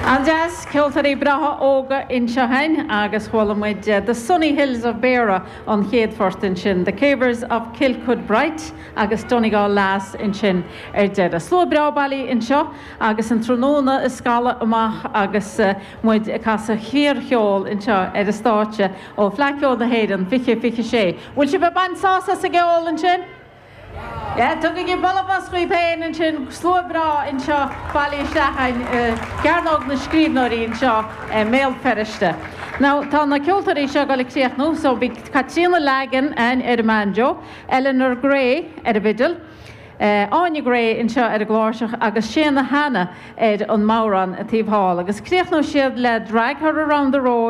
An-deas, ceoltóirí breátha óga anseo againn agus chuala muid The Sunny Hills of Beara an chéad phort ansin, The Cavers of Kilcudbright agus Donegal Lass ansin ar deireadh. Slua breá bailithe anseo agus an tráthnóna ag scaladh amach agus muid ag casadh fíorcheol anseo ar an stáitse ó Fleadh Cheoil na hÉireann 2026. Bhfuil sibh ag baint sásamh as an gceol ansin? Yeah, tugaigí bualadh bos dhaoibh féin ansin, slua breá anseo bailithe isteach againn i gCearnóg na Scríbhneoirí anseo i mBéal Feirste. Now, tá na ceoltóirí seo ag dul ag críochnú, so bhí Caitríona Lagan againn ar an mbanjo, Eleanor Gray ar an bhfidil, Áine Gray anseo ar an gcláirseach agus Séanna Hanna ar an mbodhrán taobh thall. Agus críochnóidh siad le Drag Her Around the Road.